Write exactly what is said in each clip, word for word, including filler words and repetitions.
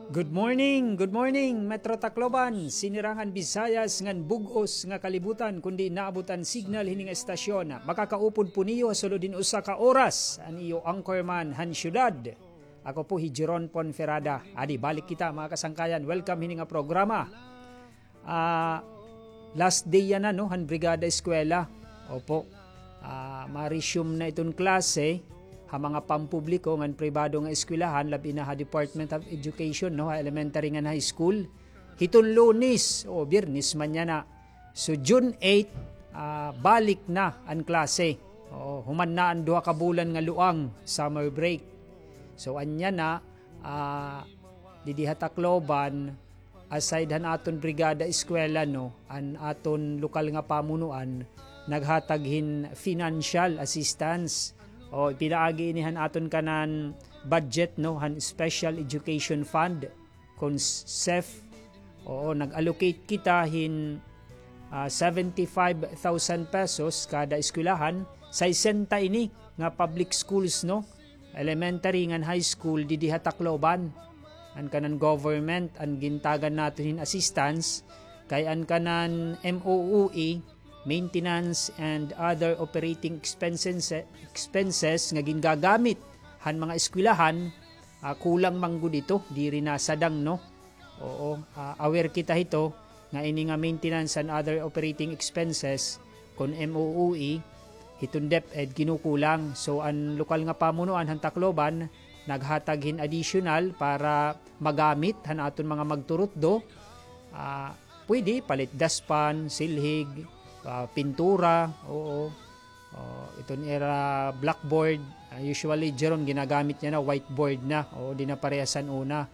Good morning, good morning, Metro Tacloban, sinirangan Visayas ngan bug-os nga kalibutan, kundi naabot an signal hini nga estasyon. Makakaupod po niyo ha sulod hin usa ka oras an iyo anchorman han syudad. Ako po hi Jeron Ponferrada. Adi, balik kita, mga kasangkayan. Welcome hini nga programa. Ah, last day yana, no, han Brigada Eskwela. Opo. Ah, ma-resume na iton klase ha mga pampubliko ngan pribado nga eskwelahan, labi na ha Department of Education, no, ha elementary ngan high school. Hiton Lunes, o, Biyernes man yana. So, June eight, ah, balik na an klase. O, human na an duha ka bulan nga luang, summer break. So, anya na, ah, didi ha Tacloban, aside han aton Brigada Eskwela, no, an aton lokal nga pamunuan naghatag hin financial assistance. O, ipinaagi ini han aton kanan budget, no, han Special Education Fund, kon SEF. Oo, nag-allocate kita hin, ah, seventy-five thousand pesos kada eskwelahan, saysenta ini nga public schools, no, elementary ngan high school didi ha Tacloban. An kanan government an gintagan naton hin assistance, kay an kanan M O O E, maintenance and other operating expenses, expenses nga gingagamit han mga eskwelahan, ah, kulang man gud ito, diri nasadang, no? Oo, ah, aware kita hito nga ini nga maintenance and other operating expenses kon M O O E, hiton DepEd kinukulang. So, an lokal nga pamunuan han Tacloban naghatag hin additional para magamit han aton mga magturutdo. Ah, pwede palit daspan, silhig, ah, pintura, oo. Oh, iton ira blackboard, ah, usually, Jeron, ginagamit niya na whiteboard na. Oo, di na parehas han una.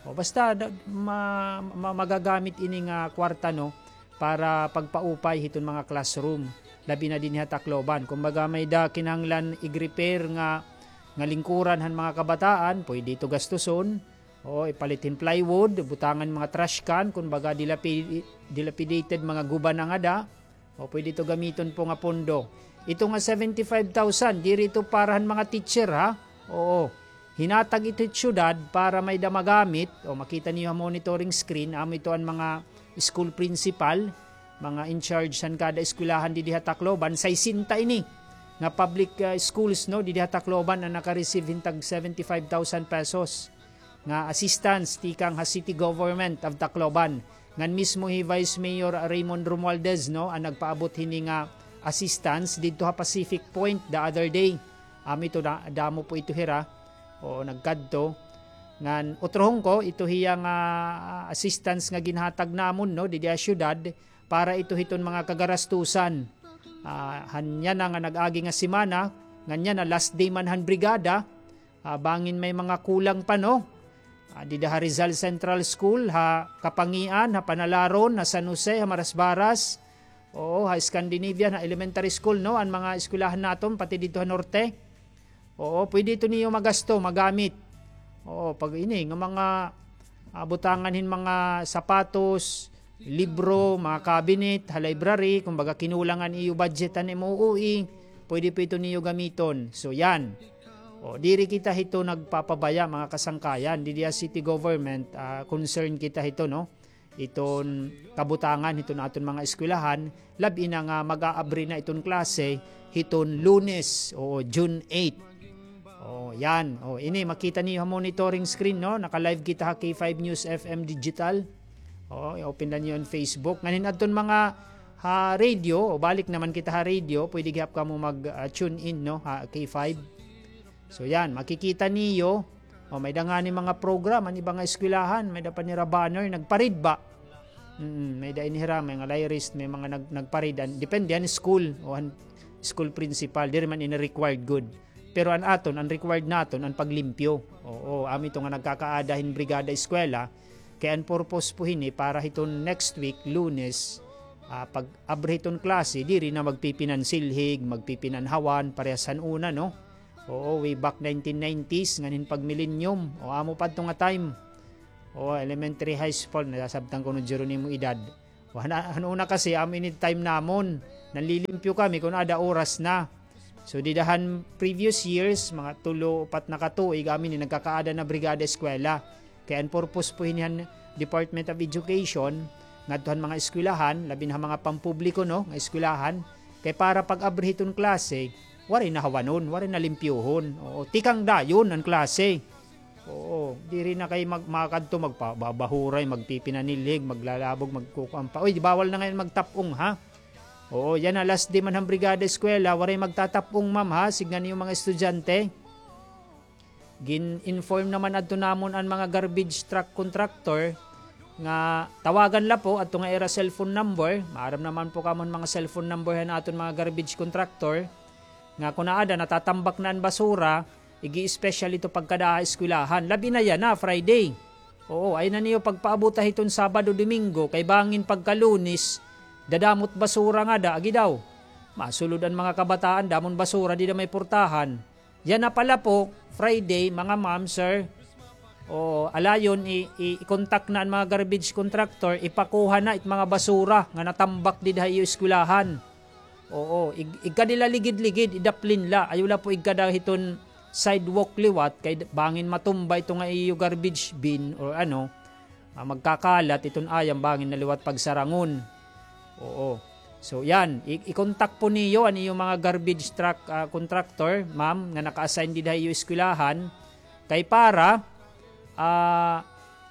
O, basta da- ma- ma- magagamit ini nga kwarta, no, para pagpaupay hiton mga classroom, labi na dinhi ha Tacloban. Kumbaga, may-ada kinahanglan ig-repair nga nga lingkuran han mga kabataan, pwede ito gastuson. O, ipalit hin plywood, butangan mga trash can, kumbaga, dilapi- dilapidated mga guba na ngada. O, pwede ito gamiton po nga pondo. Ito nga seventy-five thousand, diri ito para han mga teacher, ha? Oo. Hinatag ito hit syudad para may-ada magamit. O, makita niyo ha monitoring screen, amo ito an mga school principal, mga in charge han kada eskwelahan didi ha Tacloban, saysenta ini nga public, ah, schools, no, didi ha Tacloban an naka-receive hin tag seventy-five thousand pesos nga assistance tikang ha City Government of Tacloban. Ngan mismo hi Vice Mayor Raymond Romualdez, no, an nagpaabot hini nga assistance didto ha Pacific Point the other day. Amo ito, da- damo po ito hira. O, nagkadto. Ngan utrohon ko, ito hiya nga, ah, assistance nga ginhatag namon, no, didi ha syudad para ito hiton mga kagarastusan. Ah, han yana nga nag-agi nga semana, ngan yana last day man han brigada, ah, bangin may mga kulang pa, no? Ah, dida ha Rizal Central School, ha Kapangian, ha Panalaron, ha San Jose, ha Marasbaras, oo, ha Scandinavian, ha elementary school, no? An mga eskwelahan naton, pati didto ha norte. Oo, pwede ito niyo magasto, magamit. Oo, pag ini, nga mga, ah, butangan hin mga sapatos, libro, mga cabinet, ha library, kumbaga kinulang an iyo budget han M O O E, pwede po ito niyo gamiton. So, yan. O, diri kita hito nagpapabaya, mga kasangkayan. Didi ha city government, ah, concern kita hito, no? Iton kabutangan hiton aton mga eskwelahan, labi na nga mag-aabri na iton klase hiton Lunes, o June eight. O, yan. O, ini, makita niyo ha monitoring screen, no? Naka-live kita ha K five News F M Digital. O, i-open la niyo an Facebook. Ngan hin adton mga ha radio, o, balik naman kita ha radio, pwede gihap kamo mag, ah, tune in, no? Ha K five. So, yan, makikita niyo, o, may-ada ngani mga program an iba nga eskwelahan, may-ada pa nira banner, nagparid ba? Mm, may-ada ini hira, may nga layrist, may mga nag-, nagparid. An, depende an school, o an school principal, diri man ini required gud. Pero an aton, an required naton, an paglimpyo. Oo, amo ito nga nagkakaada hin brigada eskwela, kay an purpose po hini para hiton next week, Lunes, ah, pag-abri hiton klase, diri na magpipinansilhig, magpipinanhawan, parehas han una, no? Oo, way back nineteen nineties, ngan hin pag-millennium, o amo pa adto nga time. O, elementary, high school, nasasabtan ko no Jeronimo edad. O, han-, han una kasi, amo ini time namon. Nanlilimpyo kami kon ada oras na. So, dida han previous years, mga tulo, upat na ka tuig, amo ini nagkakaada na brigada eskwela. Kay an purpose po hini han Department of Education, ngadto han mga eskwelahan, labi na han mga pampubliko, no, nga eskwelahan, kay para pag-abri hiton klase, waray na hawanon, waray na limpyohon. Oo, tikang dayon an klase. Oo, diri na kay mag-, makadto, magpa-, babahuray, magpipinanilhig, maglalabog, magkukuan pa. Uy, di bawal na ngay-an magtap-ong, ha? Oo, yana, last day man han Brigada Eskwela, waray magtatap-ong, ma'am, ha? Sidngan niyo mga estudyante. Gin-inform naman adto namon an mga garbage truck contractor nga tawagan la po adto nga ira cellphone number. Maaram naman po kamo an mga cellphone number han aton mga garbage contractor. Nga kun aada natatambak na an basura, ig-i-special ito pagkada ha eskwelahan. Labi na yana, Friday. Oo, ayaw na niyo pagpaabota hiton Sabado, Domingo, kay bangin pagka Lunes, dadamot basura ngada, agi daw. Masulod an mga kabataan, damo hin basura dida may purtahan. Yana pala po, Friday, mga ma'am, sir. O, alayon, i-, i-, i-contact na an mga garbage contractor, ipakuha na it mga basura nga natambak dida ha iyo eskwelahan. Oo, ig-, igkadi la ligid-ligid, idaplin la. Ayaw la po igkada hiton sidewalk liwat, kay d-, bangin matumba ito nga iyo garbage bin or ano, ah, magkakalat iton ayam, bangin na liwat pagsarangon. Oo. So, yan. I-, i-contact po niyo an iyo mga garbage truck, ah, contractor, ma'am, nga naka-assign dida ha iyo eskwelahan. Kay para, ah,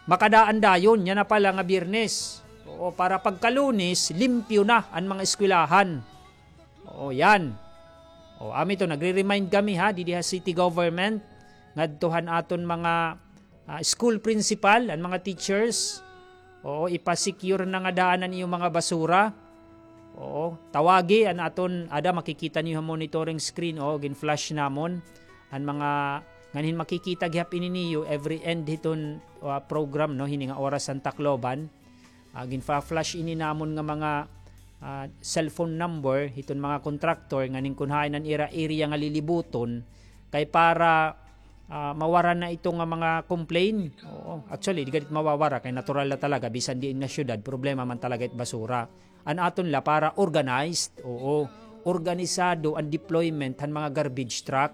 makadaan dayon, yana pala nga Biyernes. Oo, para pagka Lunes, limpyo na an mga eskwelahan. Oo, yan. O, amo ito, nagre-remind kami, ha, didi ha city government, ngadto han aton mga, ah, school principal, an mga teachers. Oo, ipa-secure na ngada an iyo mga basura. Oo, tawagi an aton, ada, makikita niyo ha monitoring screen, o, gin-flash namon. An mga, nganhin makikita gihap ini niyo every end hiton, ah, program, no, hini nga Oras han Tacloban. Ah, ginfa-flash ini namon nga mga, ah, cellphone number hiton mga contractor nganhin kun hain an ira area nga lilibuton kay para, ah, mawara na ito nga mga complain. Oo, actually, di gad it mawawara kay natural na talaga, bisan diin nga syudad, problema man talaga it basura. An aton la para organized, oo, organisado an deployment han mga garbage truck.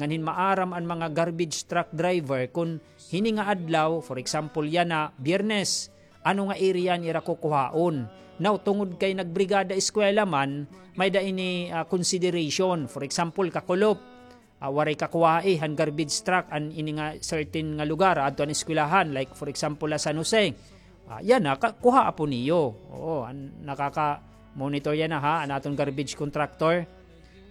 Nganhin maaram an mga garbage truck driver kun hini nga adlaw, for example, yana, Biyernes, ano nga area an ira kukuhaon. Now, tungod kay nagbrigada eskwela man, may-ada ini, ah, consideration. For example, Kakulop, ah, waray kakuhai han garbage truck an ini nga certain nga lugar, adto an eskwelahan, like, for example, ha San Jose. Ah, yana, ka-, kuhaa po niyo. Oo, an nakaka-monitor yana, ha, an aton garbage contractor.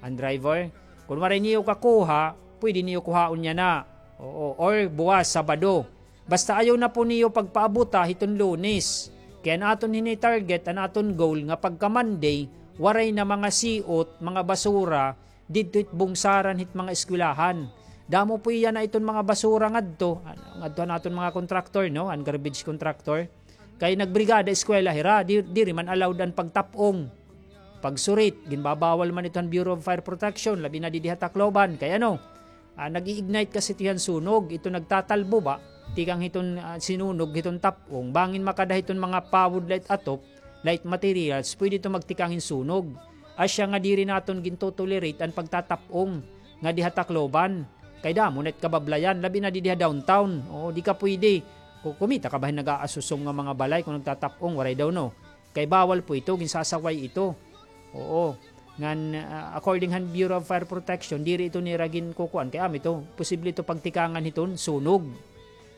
An driver, kun waray niyo kakuha, pwede niyo kuhaon yana. Oo, or buwas, Sabado. Basta ayaw na po niyo pagpaabota hiton Lunes. Kay an aton hini target, an aton goal nga pagka Monday, waray na mga siot, mga basura, didto hit bungsaran hit mga eskwelahan. Damo po yana iton mga basura ngadto, an-, ngadto an aton mga contractor, no? An garbage contractor. Kay nagbrigada eskwela hira, di-, diri man allowed an pagtap-ong. Pagsurit, ginbabawal man ito han Bureau of Fire Protection, labi na didi ha Tacloban. Kay ano, ah, nag-i-ignite kasi ito han sunog, ito nagtatalbo ba? Tikang hiton, ah, sinunog, hiton tap-ong. Bangin makada hiton mga pawod la it atop, la it materials, pwede ito magtikang hin sunog. Asya nga diri naton gintotolerate an pagtatap-ong ngadi ha Tacloban. Kay damo na it kabablayan, labi na didi ha downtown. Oo, di ka pwede. Ku-, kumita ka ba hin nag-aasusong nga mga balay kun nagtatap-ong, waray daw, no? Kay bawal po ito, ginsasaway ito. Oo. Ngan, ah, according han Bureau of Fire Protection, diri ito nira ginkukuan. Kay amo ito, posible ito pagtikangan hiton sunog.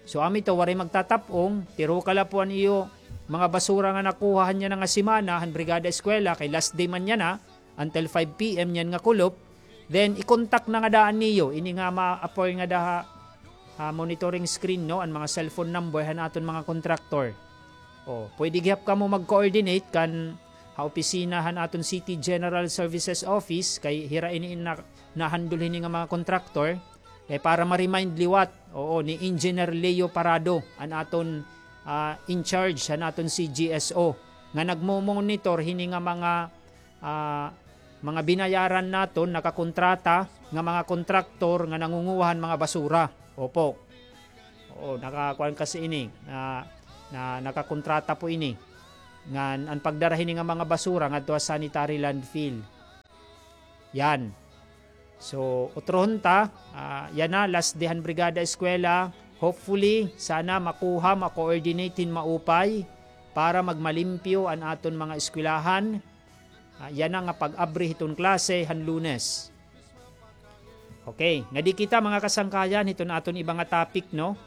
So, amo ito, waray magtatap-ong, tiruka la po an iyo mga basura nga nakuha han yana nga semana, han Brigada Eskwela, kay last day man yana, until five P M yana nga kulop. Then, i-contact na ngada niyo ini nga ma-appear ngada ha, ha monitoring screen, no, an mga cellphone number han aton mga contractor. O, pwede gihap kamo mag-coordinate kan ha opisina han aton City General Services Office, kay hira ini na-, na-handle hini nga mga contractor. Kay para ma-remind liwat, oo, ni Engineer Leo Parado, an aton, ah, in charge han aton C G S O, nga nagmo-monitor hini nga mga, ah, mga binayaran naton, nakakontrata nga mga kontraktor nga nangunguha han mga basura. Opo. Oo, nakakuan kasi ini, na, na nakakontrata po ini. Ngan an pagdara hini nga mga basura ngadto ha sanitary landfill. Yan. So, utrohon ta, ah, yana, last day han Brigada Eskwela, Hopefully, sana makuha, ma-coordinate hin maupay para magmalimpyo an aton mga eskwelahan. Ah, yana nga pag-abri hiton klase han Lunes. Okay, ngadi kita, mga kasangkayan, hiton aton iba nga topic, no?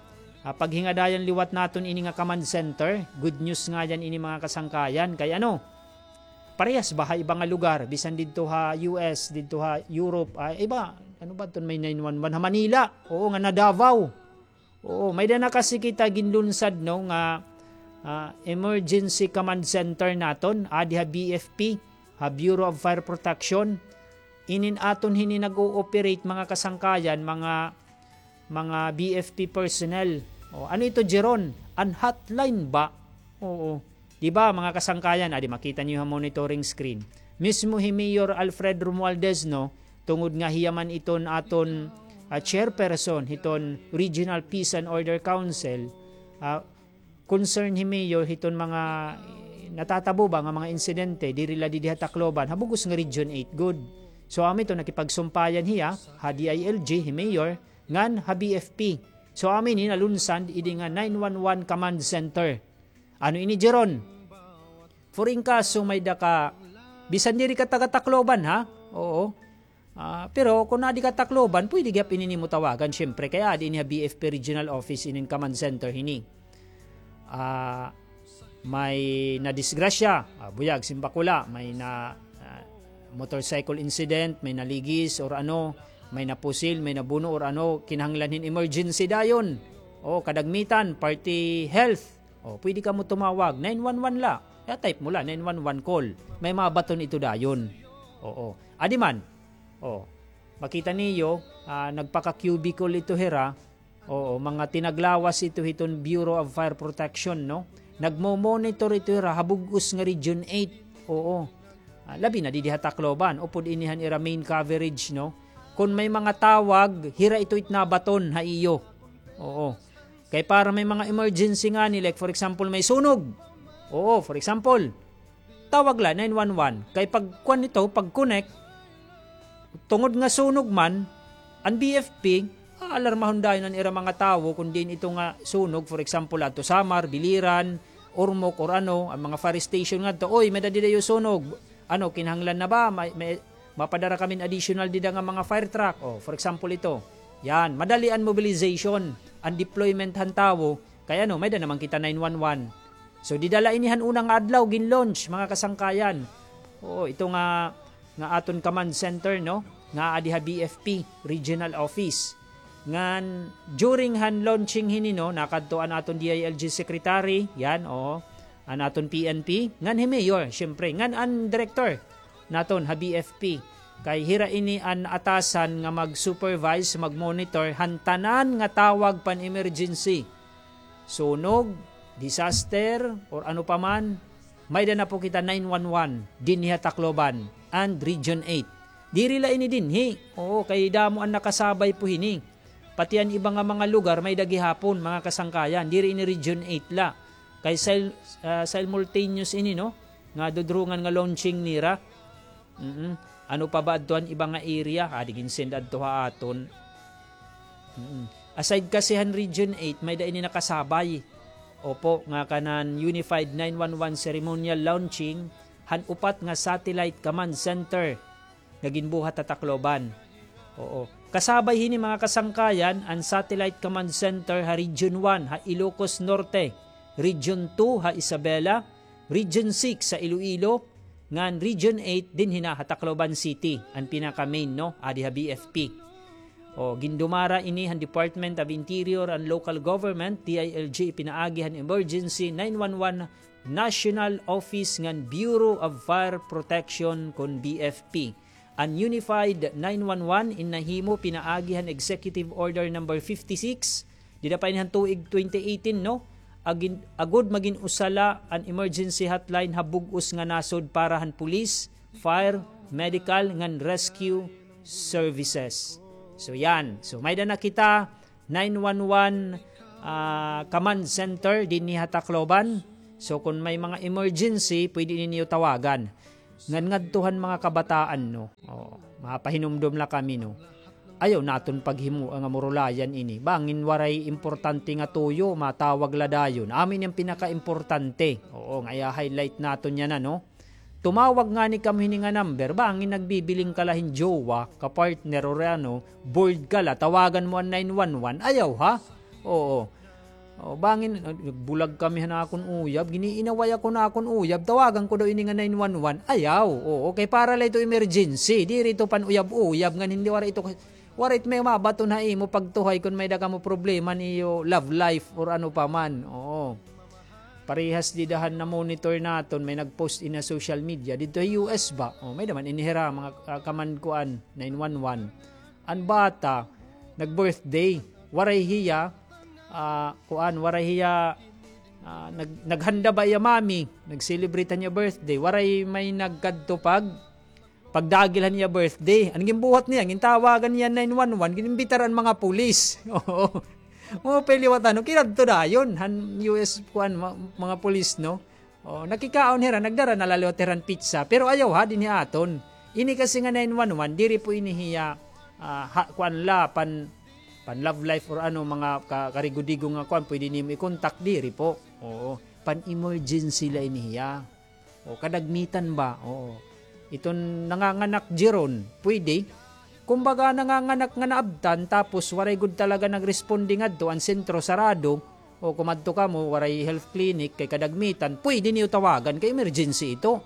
Ah, paghingadayan liwat naton ini nga command center. Good news ngay-an ini, mga kasangkayan. Kay ano, parehas ba ha iba nga lugar, bisan didto ha U S, didto ha Europe, ah, iba, ano ba iton may nine one one ha Manila? Oo, ngan ha Davao. Oo, may-ada na kasi kita ginlunsad, no, nga, ah, emergency command center naton, adi ha B F P, ha Bureau of Fire Protection. Inin aton hini nag-ooperate, mga kasangkayan, mga, mga B F P personnel. O, ano ito, Jeron? An hotline ba? Oo. Di ba, mga kasangkayan, adi, makita niyo ha monitoring screen. Mismo hi Mayor Alfred Romualdez, no, tungod nga hiya man iton aton, ah, chairperson hiton Regional Peace and Order Council, ah, concern hi Mayor hiton mga, eh, natatabo ba nga mga insidente, diri la didi ha Tacloban, ha bug-os nga Region eight gud. So, amo ito, nakipagsumpayan hiya ha D I L G, hi Mayor, ngan ha B F P. So, amo ini nalunsad idi nga nine one one command center. Ano ini, Jeron? For in kaso may-ada ka, bisan diri ka taga Tacloban, ha? Oo. Ah, pero kon adi ka Tacloban, pwede gihap ini nimo tawagan, syempre, kay adi ini ha B F P Regional Office, inin command center hini. Ah, may nadisgrasya, ah, buyag, simbakula, may na, ah, motorcycle incident, may naligis or ano, may napusil, may nabuno or ano, kinahanglan hin emergency dayon. O, kadagmitan, party health. O, pwede kamo tumawag, nine one one la. Ya, type mo la, nine one one call. May mabaton ito dayon. Oo. Adi man. O, makita niyo, ah, nagpaka-cubicle ito hira. Oo, mga tinaglawas ito hiton Bureau of Fire Protection, no? Nagmo-monitor ito hira ha bug-os nga Region eight. Oo. Ah, labi na didi ha Tacloban, upod ini han ira main coverage, no? Kon may mga tawag, hira ito it nabaton ha iyo. Oo. Kay para may mga emergency ngani, like for example, may sunog. Oo, for example, tawag la nine one one. Kay pag kuan nito, pag connect, tungod nga sunog man, an B F P, aalarmahon dayon an ira mga tawo kon diin ito nga sunog, for example, adto Samar, Biliran, Ormoc, or ano, an mga fire station ngadto, "Oy, may-ada dida iyo sunog. Ano, kinahanglan na ba? May, may, mapadara kami hin additional dida nga mga fire truck." O, for example, ito. Yan, madali an mobilization, an deployment han tawo, kay ano, may-ada naman kita nine one one. So, dida la ini han una nga adlaw, gin-launch, mga kasangkayan. Oo, ito nga, nga aton command center, no? Nga adi ha B F P, regional office. Ngan, during han launching hini, no, nakadto an aton D I L G secretary, yan, oo, an aton P N P, ngan hi Mayor, syempre, ngan an director naton ha B F P. Kay hira ini an atasan nga mag-supervise, mag-monitor han tanan nga tawag pan-emergency. Sunog, disaster, or ano pa man, may-ada na po kita nine one one dinhi ha Tacloban and Region eight. Diri la ini dinhi. Oo, kay damo an nakasabay po hini. Pati an iba nga mga lugar, may-ada gihapon, mga kasangkayan. Diri ini Region eight la. Kay sil-, ah, simultaneous ini, no? Nga dudurungan nga launching nira. Mm. Ano pa ba adto an iba nga area? Adi gin-send adto ha aton. Mm. Aside kasi han Region eight, may-ada ini nakasabay. Opo, nga kanan Unified nine one one ceremonial launching han upat nga satellite command center nga ginbuhat ha Tacloban. Oo. Kasabay hini, mga kasangkayan, an Satellite Command Center ha Region one ha Ilocos Norte, Region two ha Isabela, Region six ha Iloilo, ngan Region eight dinhi na ha Tacloban City, an pinaka-main, no, adi ha B F P. O, gindumara ini han Department of Interior and Local Government, D I L G, pinaagi han Emergency nine one one National Office ngan Bureau of Fire Protection kon B F P. An Unified nine one one in nahimo pinaagi han Executive Order Number fifty-six, dida pa ini han tuig twenty eighteen, no? Agin-, agod magin usa la an emergency hotline ha bug-os nga nasod para han police, fire, medical, ngan rescue services. So, yan. So, may-ada na kita nine one one, ah, command center dinhi ha Tacloban. So, kon may mga emergency, pwede ninyo tawagan. Ngan ngadto han mga kabataan, no? Oo, mapahinumdom la kami, no? Ayaw naton paghimoa nga murulayan ini. Bangin waray importante nga tuyo, matawag la dayon. Amo ini an pinakaimportante. Oo, nga iya-highlight naton yana, no? Tumawag ngani kamo hini nga number, bangin nagbibiling ka la hin jowa, ka-partner, or ano, bored ka la, tawagan mo an nine one one, ayaw, ha? Oo. O, bangin, ah, nagbulag kami han akon uyab, giniinaway ako han akon uyab, tawagan ko daw ini nga nine one one, ayaw. Oo, kay para la ito emergency, diri ito pan-uyab-uyab, ngan hindi, waray ito, waray ito may mabaton ha imo pagtuhay kon may-ada kamo problema han iyo love life or ano pa man. Oo. Parehas dida han na-monitor naton, may nag-post ini ha social media, didto ha U S ba? O, may-ada man ini hira, mga, ah, kaman kuan, nine one one. An bata, nag-birthday, waray hiya, ah, kuan, waray hiya, ah, nag-, naghanda ba iya mami, nag-celebrate han iya birthday, waray may nagkadto pag-, pagdagil han iya birthday. An ginbuhat niya, gintawagan niya nine one one, gin-imbitar an mga pulis. Oo. Maupay liwat, ano, kinadto dayon han U S, kuan, ma-, mga pulis, no? O, nakikaon hira, nagdara na la liwat hira hin pizza. Pero ayaw, ha, dinhi aton. Ini kasi nga nine one one, diri po ini hiya, ah, ha, kuan la, pan, pan love life or ano, mga ka-, karigo-digo nga kuan, pwede nimo i-contact, diri po. Oo, pan emergency la ini hiya. O, kadagmitan ba? Oo. Iton nanganganak, Jeron, pwede. Kumbaga, nanganganak nga naabtan, tapos waray gud talaga nagresponde ngadto, an sentro sarado, o kumadto kamo, waray health clinic, kay kadagmitan, pwede niyo tawagan, kay emergency ito.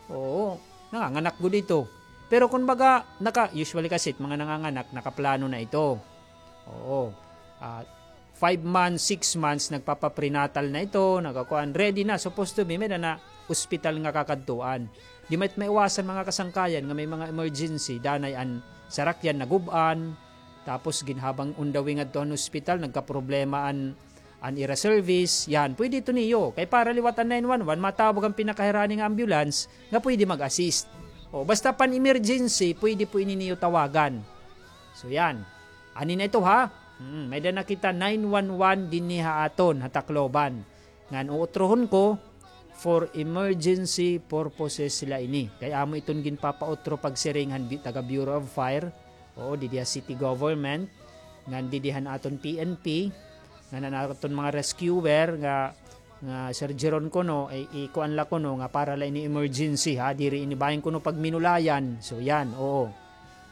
Oo, nanganganak gud ito. Pero kumbaga, naka-, usually kasi, mga nanganganak, nakaplano na ito. Oo. Ah, five months, six months, nagpapa-prenatal na ito, nagakuan, ready na, supposed to be, may-ada na hospital nga kakadtuan. Di man it maiwasan, mga kasangkayan, nga may mga emergency, danay an sarakyan nagub-an, tapos ginhabang on the way ngadto han hospital, nagkaproblema an, an ira service, yan, pwede ito niyo. Kay para liwat an nine one one, matawag an pinakahirani nga ambulance nga pwede mag-assist. O, basta pan-emergency, pwede po ini niyo tawagan. So, yan. Ani na ito, ha? Hmm, may-ada na kita nine one one dinhi ha aton, ha Tacloban. Ngan uutrohon ko, for emergency purposes la ini. Kay amo iton ginpapautro pagsiring han bi-, taga Bureau of Fire. Oo, didi ha city government. Ngan didi han aton P N P. Ngan an aton mga rescuer nga, nga Sir Jeron kuno, ay, ikuan la kuno nga para la ini emergency, ha. Diri ini bahin kuno pagminulayan. So, yan, oo.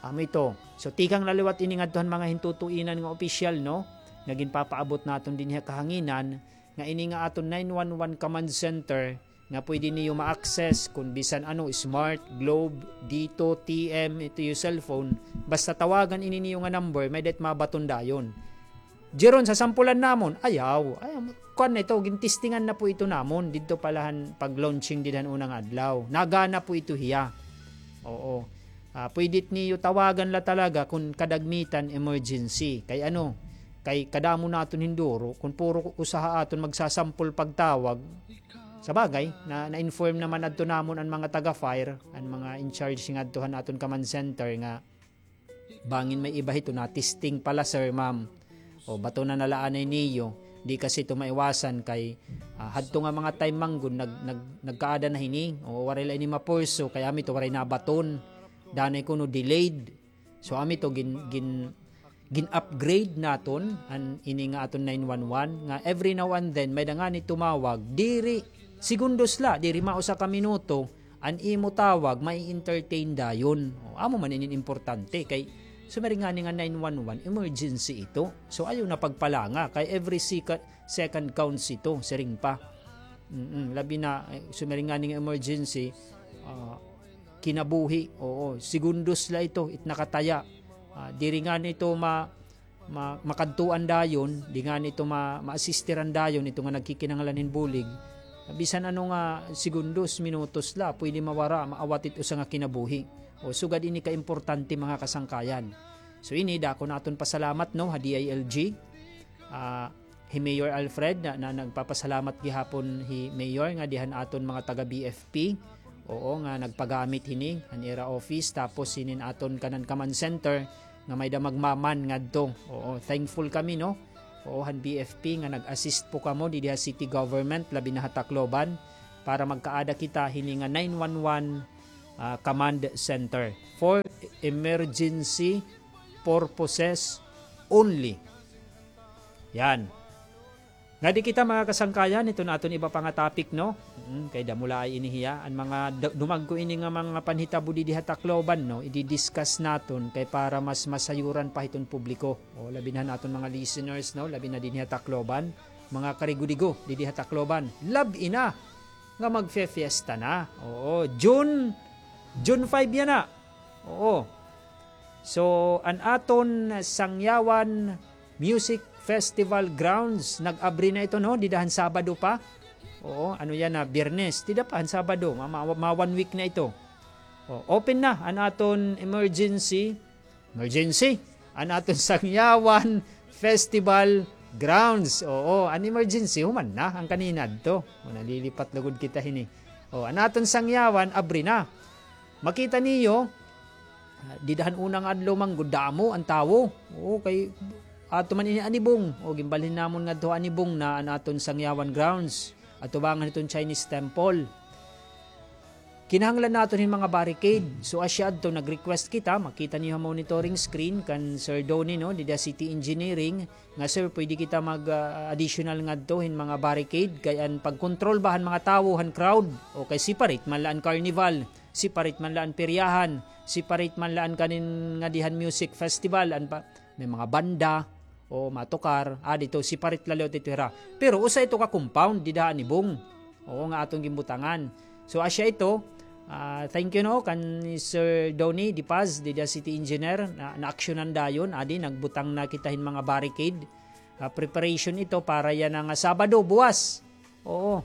Amo ito. So, tikang la liwat ini ngadto han mga hintutuinan nga opisyal, no? Nga ginpapaabot naton dinhi ha kahanginan, nga ini nga aton nine one one command center, nga pwede niyo ma-access kon bisan ano, smart, globe, dito, T M, ito iyo cellphone, basta tawagan ini niyo nga number, may-ada it mabaton dayon. Jeron, sasampulan namon, ayaw, ayaw, kuan na ito, gintestingan na po ito namon, didto pa la han pag-launching dida han una nga adlaw. Nagana po ito hiya. Oo. Ah, pwede it niyo tawagan la talaga kon kadagmitan emergency. Kay ano, kay kadamo naton hinduro, kon puro usa ha aton magsasampol pagtawag, sa bagay, na, na-inform naman adto namon an mga taga-fire, an mga in charge ngadto han aton command center nga bangin may iba hito na-testing pala, sir, ma'am. O, batonan na la anay niyo. Di kasi ito maiwasan kay, ah, hadto nga mga time man gud, nag-, nag-, nagkaada na hini. O, waray la ini mapurso, kay amo ito waray nabaton. Danay kuno delayed. So, amo ito gin-, gin-, gin-upgrade naton an ini nga aton nine one one, nga every now and then, may-ada ngani tumawag, diri, segundos la, diri mausa ka minuto, an imo tawag, mai-entertain dayon. O, amo man ini importante, kay sumiring ngani nga nine one one, emergency ito. So, ayaw na pagpalanga, kay every sec-, second counts ito, siring pa. Mm, labi na, eh, sumiring ngani nga emergency, ah, kinabuhi, oo, segundos la ito, it nakataya. Ah, diri ngani ito ma-, ma-, makadtuan dayon, di ngani ito ma-, ma-assistiran dayon, ito nga nagkikinahanglan hin bulig. Bisan ano nga segundos, minutos la, pwede mawara, maawat it usa nga kinabuhi. O, sugad ini kaimportante, mga kasangkayan. So, ini, dako naton pasalamat, no, ha D I L G. Ah, hi Mayor Alfred, na, na nagpapasalamat gihapon hi Mayor nga dihan aton mga taga B F P. Oo, nga nagpagamit hini, han ira office, tapos hinin aton kanan command center, nga may-ada magmaman ngadto. Oo, thankful kami, no? Oo, han B F P nga nag-assist po kamo didi ha city government, labi na ha Tacloban, para magkaada kita hini nga nine one one, ah, command center for emergency purposes only. Yan. Ngadi kita, mga kasangkayan, iton aton iba pa nga topic, no? Mm, kay damo la ini hiya. An mga da-, dumagko ini nga mga panhitabo didi ha Tacloban, no? Idi-discuss naton kay para mas masayuran pa hiton publiko. O, labi na han aton mga listeners, no? Labi na dinhi ha Tacloban, mga karigo-digo didi ha Tacloban. Labi na nga magfe-fiesta na. Oo, June, June five yana. Oo. So, an aton Sangyawan Music Festival grounds, nag-abri na ito, no? Dida han Sabado pa. Oo, ano yana, Biyernes. Dida pa han Sabado, ma, ma, ma one week na ito. O, open na an aton emergency, emergency, an aton Sangyawan Festival grounds. Oo, an emergency, human na, an kanina adto. O, nalilipat lugod kita hini. O, an aton Sangyawan, abri na. Makita niyo, ah, dida han una nga adlaw man gud, damo an tawo. Oo, kay ato man ini Anibong. O, ginbalhin namon ngadto Anibong na an aton Sangyawan grounds, atubangan hiton Chinese temple. Kinahanglan naton hin mga barricade. So, asya adto, nag-request kita, makita niyo ha monitoring screen kan Sir Donnie, no, dida City Engineering, nga, "Sir, pwede kita mag, ah, additional ngadto hin mga barricade, kay an pag-control ba han mga tawo, han crowd, o kay separate man la an carnival, separate man la an peryahan, separate man la an kanin ngadi han music festival, an pa, may mga banda, o matukar, ah, dito, separate la liwat ito hira." Pero usa ito ka compound dida ha Anibong. Oo, nga aton ginbutangan. So, asya ito, ah, thank you, no, kan Sir Donnie Dipaz, dida city engineer, na, naaksyonan dayon, adi, nagbutang na kita hin mga barricade. Ah, preparation ito para yana nga Sabado, buwas. Oo.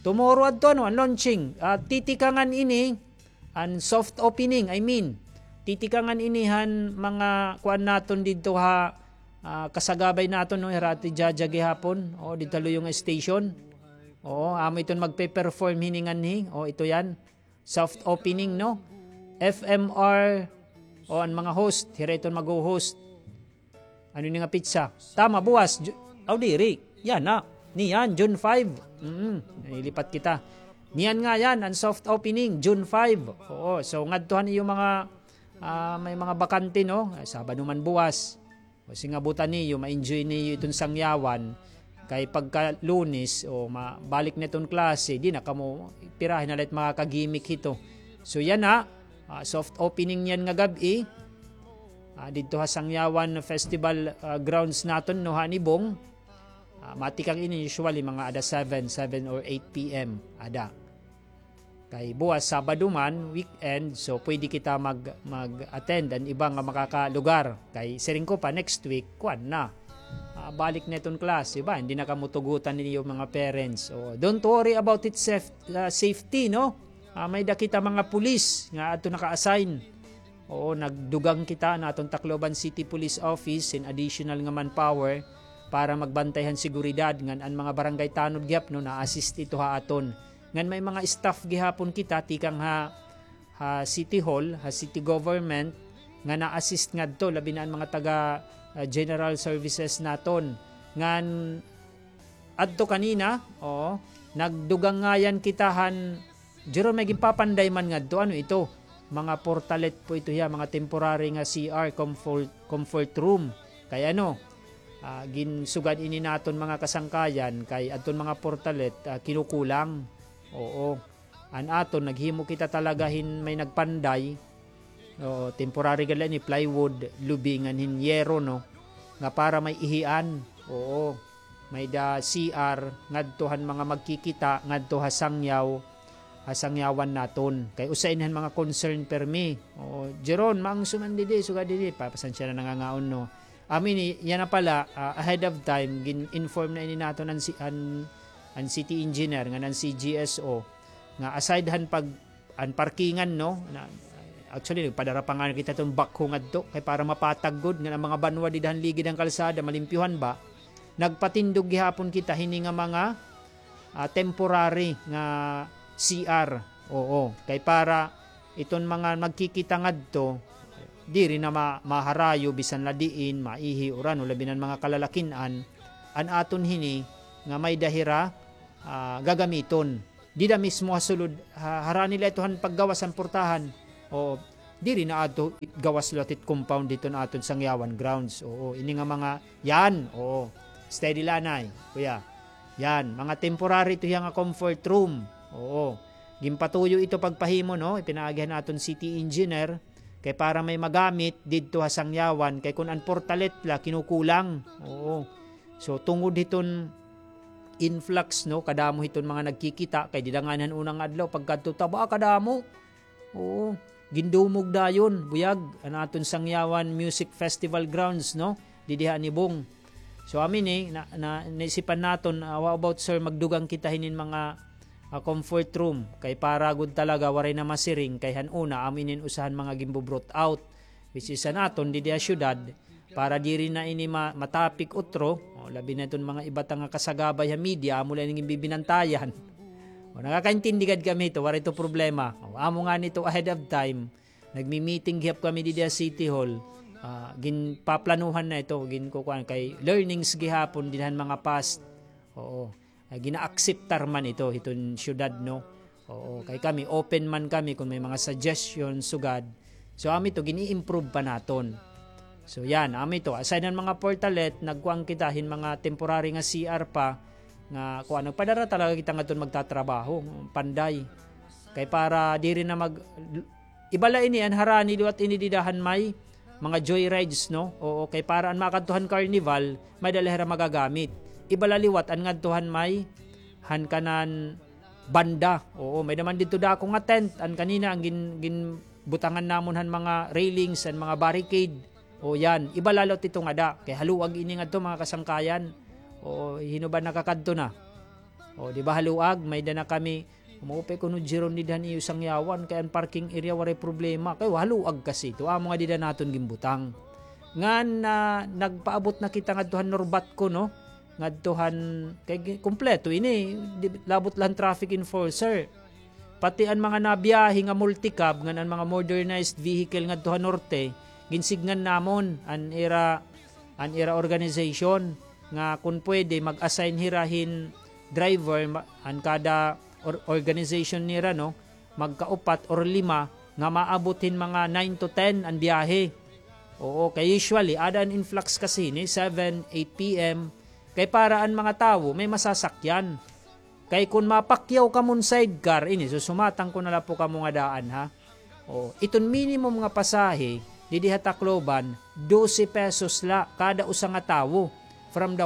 Tomorrow adto, ano, an launching. Ah, titikangan ini, an soft opening, I mean. Titikangan ini han mga kuan naton didto ha, ah, kasagabay naton, no, hira Ate Jaja gihapon. O, didto ha luyo nga station. Oo, amo iton magpe-perform hini nganhi. O, ito yan. Soft opening, no? F M R, o, an mga host, hira iton mag-host. Ano ini nga petsa? Tama, buwas. Ju-, aw, diri. Yana. Niyan, June five. Mm, nalilipat kita. Niyan nga yan, an soft opening, June five. Oo, so ngadto han iyo mga, ah, may mga bakante, no? Ay, Sabado man buwas. O, sige, abutan niyo, ma-enjoy niyo iton Sangyawan. Kay pagka Lunes, o, ma-, balik na iton klase, di na kamo, pirahi na la it mga ka-gimmick hito. So, yana, ah, soft opening niyan nga gab-i. Ah, didto ha Sangyawan Festival, ah, grounds naton, no, ha Anibong. Ah, matikang ini usually mga ada seven, seven or eight P M, ada. Kay buwas Sabado man, weekend, so pwede kita mag-, mag-attend an iba nga makakalugar. Kay siring ko pa, next week, kuan na. Ah, balik na iton klase ba? Hindi na kamo tugutan ninyo mga parents. O, don't worry about it saf-, ah, safety, no? Ah, may-ada kita mga pulis nga adto naka-assign. Oo, nagdugang kita han aton Tacloban City Police Office hin additional nga manpower para magbantay han seguridad ngan an mga barangay tanod gihap, no, na-assist ito ha aton. Ngan may mga staff gihapon kita tikang ha, ha City Hall, ha City Government, nga na-assist ngadto, labi na an mga taga, ah, general services naton. Ngan adto kanina, oo, nagdugangayan kita han, Jerome, may ginpapanday man ngadto, ano ito? Mga portalet po ito hiya, mga temporary nga C R, comfort, comfort room. Kay ano, ah, ginsugad ini naton mga kasangkayan, kay adton mga portalet, ah, kinukulang. Oo. An aton, naghimo kita talaga hin may nagpanday. Oo, temporary gad la ini, plywood, lubi ngan hin yero, no? Nga para may ihian. Oo. May-ada C R ngadto han mga magkikita ngadto ha sangyaw, ha sangyawan naton. Kay usa ini han mga concern permi. Oo, Jeron, maangso man didi, sugad didi, pa-, pasensya na nangangaon, no. Amo ini, yana pala, ah, ahead of time, gin-inform na ini naton an si-, an, an city engineer ngan an C G S O nga aside han pag-, an parkingan, no? Na, actually, nagpadara pa nga kita iton backhoe ngadto kay para mapatag gud ngan an mga banwa dida han ligid han kalsada, malimpyuhan ba. Nagpatindog gihapon kita hini nga mga, ah, temporary nga C R. Oo, kay para iton mga magkikita ngadto, diri na ma-, maharayo bisan la diin, maihi, uran, o labi na an mga kalalakin-an, an aton hini nga may-ada hira, ah, gagamiton. Dida mismo ha sulod, ha, harani la ito han paggawas han portahan. O, Diri na adto it gawas liwat it compound hiton aton Sangyawan grounds. Oo, ini nga mga, yan, oo. Steady la anay, kuya. Yan, mga temporary ito hiya nga comfort room. Oo. Ginpatuyo ito pagpahimo, no? Ipinaagi han aton city engineer kay para may magamit didto ha Sangyawan kay kun an portalet la kinukulang. Oo. So tungod hiton influx, no, kadamo hiton mga nagkikita kay dida ngani han una nga adlaw pagkadto ta ba kadamo. Oo. Gindumog dayon, buyag, an aton Sangyawan Music Festival grounds, no? Didi ha Anibong. So, amin eh, na, na, naisipan naton, ah, how about, sir, magdugang kita hinin mga, ah, comfort room. Kay para gud talaga, waray na masiring, kay han una, amin in usahan mga gimbo-brought out. Which is an aton, didi ha syudad, para diri na ini ma-, matapik utro, o, labi na iton mga iba ta nga kasagabay ha media, amo la ini ginbibinantayan. O, nakakaintindi gad kami ito, waray ito problema. O, amo ngani ito ahead of time, nagmi-meeting gihap kami didi ha City Hall. Ah, ginpaplanuhan na ito, ginkukuan kay learnings gihapon dinhan mga past. Oo. Ah, gina-acceptar man ito hiton syudad, no? Oo, kay kami, open man kami kung may mga suggestion, sugad. So, amo ito, gini-improve pa naton. So, yan, amo ito. Aside han mga portalet, nagkuan kita hin mga temporary nga C R pa, nga, kuan, nagpadara talaga kita ngadton magtatrabaho, panday. Kay para diri na mag-, iba la ini, an harani liwat ini dida han may mga joyrides, no? Oo, kay para an makadto han carnival, may-ada la hira magagamit. Iba la liwat an ngadto han may, han kanan banda. Oo, may-ada man didto dako nga tent, an kanina, an gin-, ginbutangan namon han mga railings, an mga barricade. O, yan, iba la liwat ito ngada, kay haluag ini ngadto, mga kasangkayan. Oo, hin-o ba nakakadto na? O, di ba haluag, may-ada na kami, maupay kuno Jeron dida han iyo Sangyawan, kay an parking area waray problema, kay haluag kasi ito, amo nga dida naton ginbutang. Ngan, ah, nagpaabot na kita ngadto han Norbatco, no? Ngadto han, kay gi-, kumpleto ini, di, labot la han traffic enforcer. Pati an mga nabiyahe nga multicab, ngan an mga modernized vehicle ngadto ha norte, ginsidngan namon an ira, an ira organization nga kun pwede mag-assign hira hin driver, ma-, an kada or-, organization nira, no, magkaupat or lima nga maabot hin mga nine to ten an biyahe. Oo, kay usually, ada an influx kasi hini, seven, eight P M, kay para an mga tawo may masasakyan. Kay kun mapakyaw kamon sidecar, ini, susumatang ko na la po kamo nga daan, ha? O, iton minimum nga pasahe, didi ha Tacloban, dose pesos la kada usa nga tawo from the,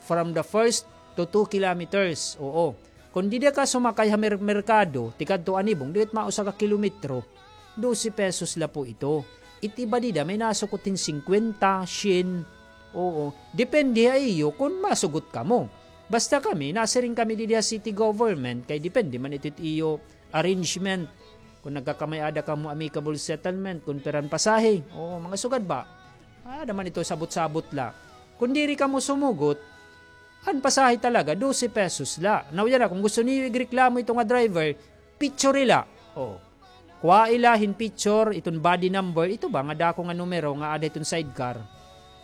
from the first to two kilometers. Oo. Kun dida ka sumakay ha mer-, merkado, tikadto Anibong, diri it mga usa ka kilometro, dose pesos la po ito. It iba dida, may nasukot hin singkwenta, syen. Oo. Depende ha iyo kun masugot kamo. Basta kami, nasiring kami didi ha city government, kay depende man ito it iyo arrangement. Kun nagkakamay-ada kamo amicable settlement, kun pira an pasahe. Oo, mga sugad ba? Ada man ito sabot-sabot la. Kun diri kamo sumugot, an pasahe talaga, dose pesos la. Now, yana, kun gusto niyo igreklamo ito nga driver, picture la. O. Kuhaa la hin picture, iton body number, ito ba nga dako nga numero nga ada iton sidecar.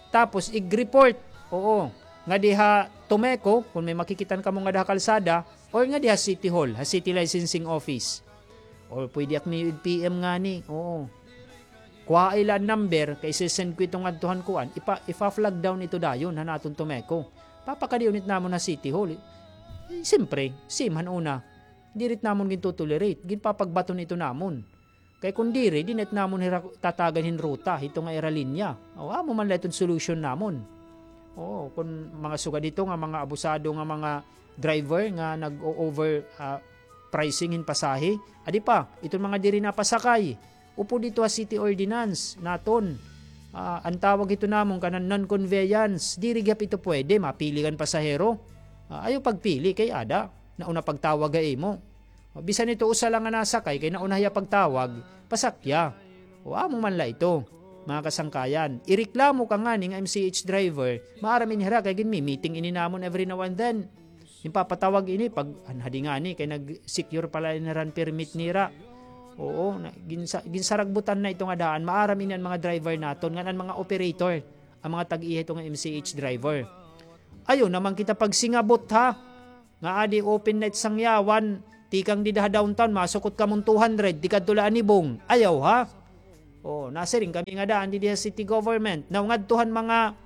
Tapos, ig-report. Oo. Ngadi ha Tomeco, kun may makikita kamo ngada ha kalsada, or ngadi ha City Hall, ha City Licensing Office. Or pwede ak niyo ig-P M ngani. Oo. Kuhaa la an number, kay isi-send ko ito ngadto han kuan. Ipa-, ifa-flag down ito dayon han aton Tomeco. Papakadi-on it namon ha City Hall. Eh, siyempre, same han una. Diri it namon ginto-tolerate. Ginpapagbaton ito namon. Kay kun diri, diri na it namon hira tatagan hin ruta, hito nga ira linya. O, amo man la iton solution namon. Oo, kun mga sugad hito nga mga abusado nga mga driver nga nag-o-over, ah, pricing hin pasahe, adi pa, iton mga diri napasakay, upod ito ha city ordinance naton. Ah, an tawag hito namon kanan non-conveyance, diri gihap ito pwede, mapili kan pasahero. Ah, ayaw pagpili kay ada, nauna pagtawag ha imo. O, bisan ito usa la nga nasakay, kay nauna hiya pagtawag, pasakya. O, amo man la ito, mga kasangkayan. Ireklamo ka ngani nga M C H driver, maaram ini hira kay ginmi-meeting ini namon every now and then. Ginpapatawag ini pag, an hadi ngani, kay nag-secure pa la ini hira hin permit nira. Oo, na, ginsa-, ginsaragbutan na ito nga daan. Maaram ini an mga driver naton, ngan an mga operator, an mga tag-iya hito nga M C H driver. Ayaw naman kita pagsingabot, ha? Nga adi open night Sangyawan, tikang dida ha downtown, masukot kamon two hundred, tikadto la Anibong. Ayaw, ha? Oo, nasiring kami nga daan didi ha city government. Now, ngadto han mga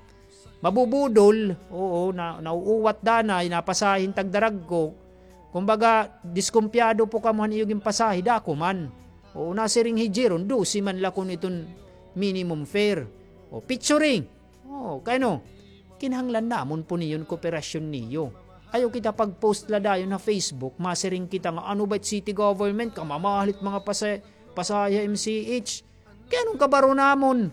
mabubudol, oo, na, nauuwat danay, napasahe hin tagdaragko. Kumbaga, diskumpiyado po kamo han iyo ginpasahe, dako man. Oo, nasiring hi Jeron, dose man la kuno iton minimum fare. O, picturing. Oo, kay ano, kinahanglan namon po niyon kooperasyon niyo. Ayaw kita pag-post la dayon ha Facebook, masiring kita nga, "Ano ba it city government, kamamahal it mga pasa-, pasahe ha M C H." Kay ano an kabaro namon?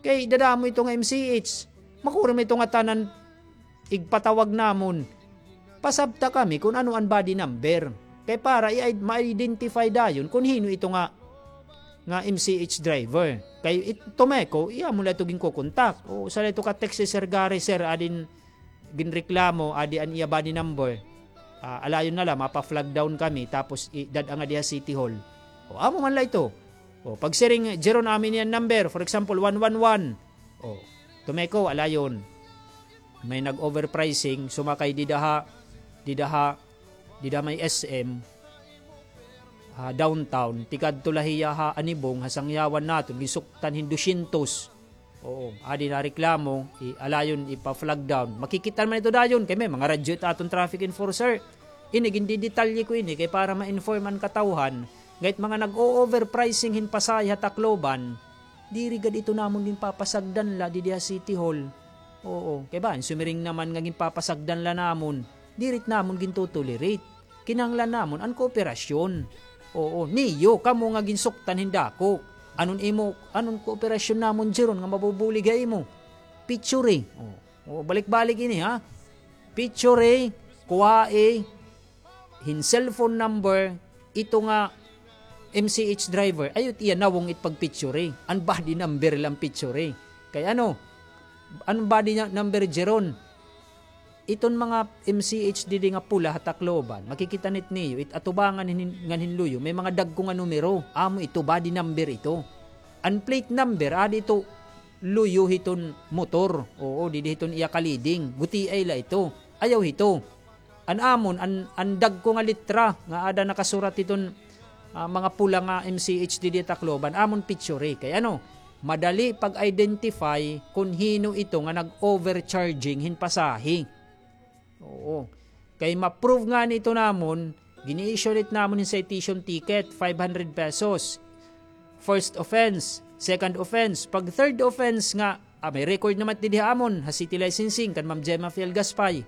Kay dadamo ito nga M C H. Makurom ito nga tanan igpatawag namon. Pasabta kami kon ano an body number. Kay para i-, ma-identify dayon kon hin-o ito nga, nga M C H driver. Kay it-, Tomeco, iya mo la ito ginkokontak. O, usa la ito ka text si Sir Gary, "Sir, adi in ginreklamo, adi an iya body number. Ah, alayon na la, mapa-flag down kami, tapos i-, dad-a ngadi ha City Hall." O, amo man la ito. O, pagsiring, "Jeron, amo ini an number, for example, one one one." O, Tomeco, alayon. May nag-overpricing, sumakay dida ha, dida ha, dida may S M, ha downtown, tikadto la hiya ha Anibong, ha sangyawan naton, ginsuktan hin dosyentos. Oo, adi nareklamo, i-, alayon, ipa-flag down. Makikit-an man ito dayon, kay may mga radyo it aton traffic enforcer. Ini, gindidetalye ko ini, kay para ma-inform an katawhan, nga it mga nag-o-overpricing hin pasahe ha Tacloban, diri gad ito namon ginpapasagdan la didi ha City Hall. Oo, kay ba, sumiring naman nga ginpapasagdan la namon, diri it namon gintotolerate. Kinahanglan namon an kooperasyon. Oo, niyo, kamo nga ginsuktan hin dako. Anon imo, anon kooperasyon namon, Jeron, nga mabubulig ha imo? Picture. Oo, oo, balik-balik ini, ha? Picture, kuhae, hin cellphone number, ito nga M C H driver, ayaw it iya nawong it pagpicture. An body number la an picture. Kay ano, an body na-, number, Jeron? Iton mga M C H didi nga pula ha Tacloban, makikit-an it niyo, it atubangan hin-, ngan hin luyo, may mga dagko nga numero, amo ito, body number ito. An plate number, adi ito luyo hiton motor, oo, didi hiton iya kaliding, gutiay la ito, ayaw hito. An amon, an, an dagko nga litra nga ada nakasurat hiton, ah, mga pula nga M C H didi ha Tacloban, amon picture. Kay ano, madali pag-identify kon hin-o ito nga nag-overcharging hin pasahe. Oo. Kay ma-prove ngani ito namon, gini-issue-an it namon hin citation ticket, five hundred pesos. First offense, second offense, pag third offense nga, ah, may record naman didi ha amon, ha city licensing, kan Ma'am Gemma Fiel Gaspay.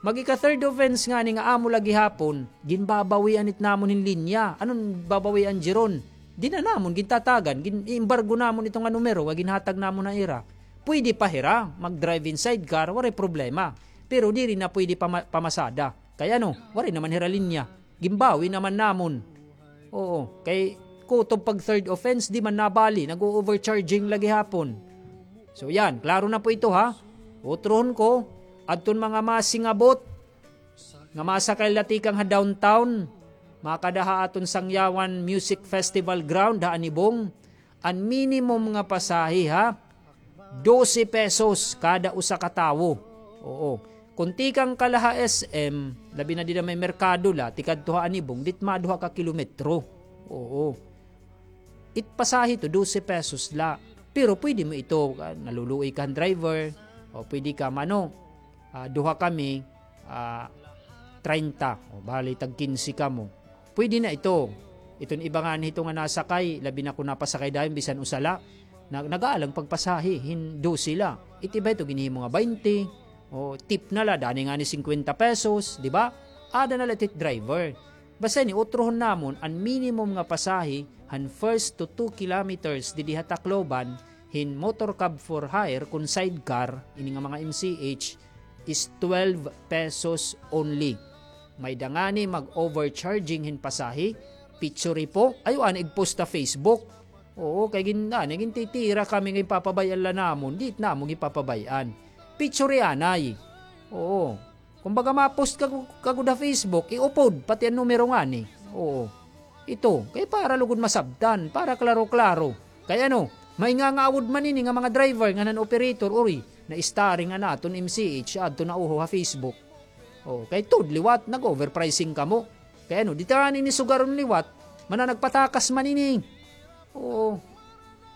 Mag-ika-third offense ngani nga amo la gihapon, ginbabawian it namon hin linya. Anon babawian, Jeron? Di na namon gintatagan, gin-iembargo namon ito nga numero nga ginhatag namon ha ira. Pwede pa hira mag-drive hin sidecar, waray problema. Pero diri na pwede pama-, pamasada. Kay ano, waray naman hira linya. Ginbawi naman namon. Oo, kay kutob pag third offense, di man nabali, nag-o-overcharging la gihapon. So yan, klaro na po ito, ha. Utrohon ko, adton mga masingabot nga masakay la tikang ha downtown, makada ha aton Sangyawan Music Festival Ground ha Anibong, an minimum nga pasahe, ha, dose pesos kada usa ka tawo. Oo. Kon tikang ka la ha S M, labi na dida may merkado la, tikadto ha Anibong, di it maduha ka kilometro. Oo. It pasahe ito, dose pesos la. Pero pwede mo ito, ah, naluluoy ka han driver, o pwede ka mano, ah, duha kami, ah, treinta. O, bali, tag kinse kamo. Pwede na ito. Iton iba ngani hito nga nasakay, labi na kon napasakay dayon, bisan usa la. Na, nag-aalang pagpasahe, hin dose la. It iba ito, ginhimo nga baynte. O, tip na la, danay ngani singkwenta pesos, di ba? Ada na la it driver. Basta ini, utrohon namon, an minimum nga pasahe, han first to two kilometers didi ha Tacloban, hin motor cab for hire kon sidecar, ini nga mga M C H, is twelve pesos only. May-ada ngani mag-overcharging hin pasahe, picture po, ayaw anay igpost ha Facebook. Oo, kay gin-, anay, gintitira kami nga ginpapabay-an la namon, di it namon ginpapabay-an. Picture anay. Oo. Kumbaga, ma-post ka, ka gud ha Facebook, iupod, pati an numero ngani. Oo. Ito, kay para lugod masabtan, para klaro-klaro. Kay ano, may nga nga awod man ini nga mga driver, ngan an operator, uri, na-starring an aton M C H, adto na uho ha Facebook. Oo, kay tuod liwat, nag-overpricing kamo. Kay ano, di ta ngani ini sugaron liwat, mana nagpatakas man ini. Oo.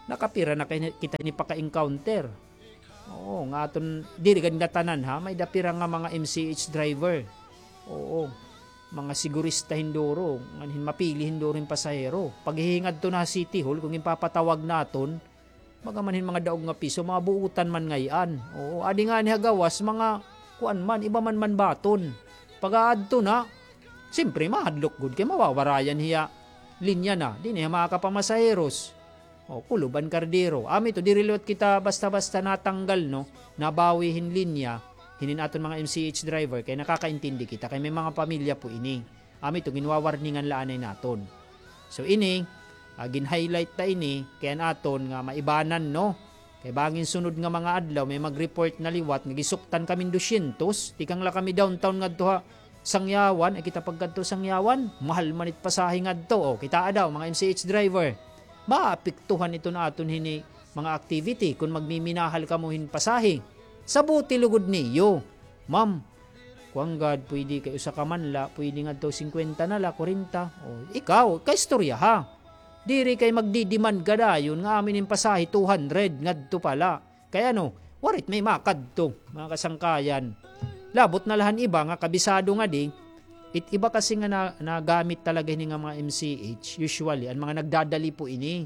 Nakapira na kay kita hini paka-encounter. Oo, nga aton, diri gad ngatanan ha, may-ada pira nga mga M C H driver. Oo, mga sigurista hinduro, ngan hin mapili hinduro hin pasahero. Paghihingadto na ha City Hall, kon ginpapatawag naton, baga man hin mga daog nga piso, mga buutan man ngay-an. Oo, adi ngani ha gawas, mga kuan man, iba man man baton. Pag-aadto na, simpre, mahadlok gud kay mawawarayan hiya linya na, diri na hiya makakapamasaheros. O, kulob an kardero. Amo ito, diri liwat kita basta-basta natanggal, no? Nabawi hin linya, hinin aton mga M C H driver, kay nakakaintindi kita, kay may mga pamilya po ini. Amo ito, ginwawarningan la anay naton. So ini, ah, gin-highlight ta ini, kay an aton nga maibanan, no? Kay bangin sunod nga mga adlaw, may mag-report na liwat nga gisuktan kami hin dosyentos, tikang la kami downtown ngadto ha Sangyawan, ay kita pagkadto Sangyawan, mahal man it pasahe ngadto. O, kitaa daw, mga M C H driver. Maapektuhan iton aton hini mga activity kon magmiminahal kamo hin pasahe. Sabuti lugod niyo, ma'am. Kuan gad, pwede kay usa ka man la, pwede ngadto singkwenta na la, kwarenta. O, ikaw, kaistorya ha. Diri kay magdi-demand ka dayon nga amin in pasahe two hundred ngadto pa la. Kay ano, waray it may makadto, mga kasangkayan. Labot na la han iba nga kabisado ngadi, it iba kasi nga na, nagamit talaga hini nga mga M C H, usually, an mga nagdadali po ini.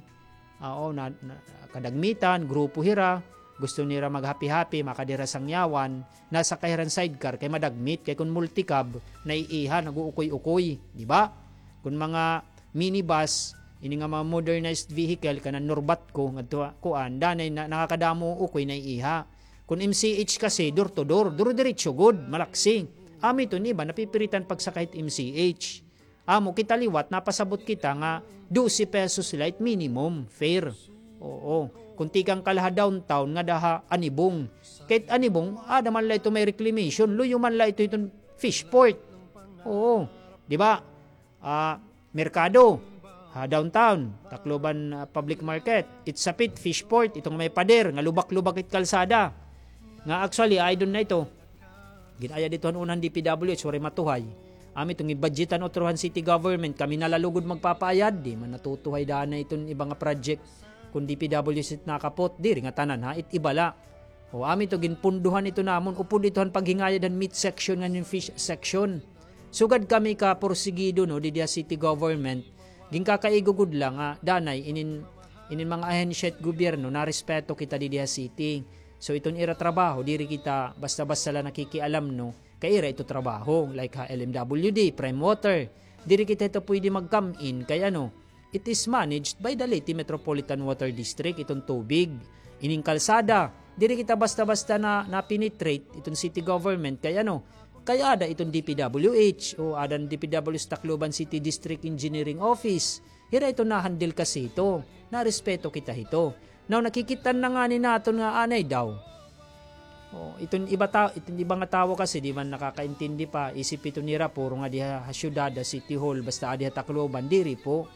Oo, na, na, kadagmitan, grupo hira, gusto nira maghapi-hapi, makadi hira Sangyawan, nasakay hira hin sidecar, kay madagmit, kay kon multicab, naiiha, nag-uukoy-ukoy, di ba? Kon mga minibus, ini nga mga modernized vehicle, kanan Norbatco, ngadto, kuan, danay na, nakakadamo ukoy naiiha. Kon M C H kasi, door to door, duro-diretso gud, malaksi. Amo ito, iba, napipiritan pagsakay hit M C H. Amo kita liwat, napasabot kita nga dose pesos la it minimum fare. Oo. Kon tikang ka la ha downtown ngada ha Anibong. Kay it Anibong, ada man la ito may reclamation, luyo man la ito hiton Fishport. Oo. Di ba? Ah, merkado, ha downtown, Tacloban, ah, Public Market, it sapit, Fishport, iton may pader, nga lubak-lubak it kalsada. Nga actually, ay doon na ito. Ginayad ito han una han D P W H, waray matuhay. Amo ito, gin-budgetan utro han city government, kami na la lugod magpapaayad, di man natutuhay danay iton iba nga project. Kon D P W H it nakapot, diri ngatanan ha, it iba la. O, amo ito, ginpundohan ito namon, upod ito han paghingayad han meat section ngan hin fish section. Sugad kami ka porsigido, no, didi ha city government, ginkakaigo gud la nga danay inin, inin mga ahensya hit gobyerno, narespeto kita didi ha city. So, iton ira trabaho, diri kita basta-basta la nakikialam, no, kay ira ito trabaho, like ha L M W D, Prime Water. Diri kita hito pwede mag-come in, kay ano, it is managed by the Leyte Metropolitan Water District, iton tubig. Ining kalsada, diri kita basta-basta na, na-penetrate, iton city government, kay ano, kay ada iton D P W H, o ada an D P W H Tacloban City District Engineering Office. Hira ito na-handle kasi ito. Narespeto kita hito. Now, nakikita na ngani naton nga anay daw. O, iton iba ta-, iton iba nga tawo kasi di man nakakaintindi pa, isip ito nira puro nga diha ha syudad, ha City Hall, basta adi ha Tacloban, diri po.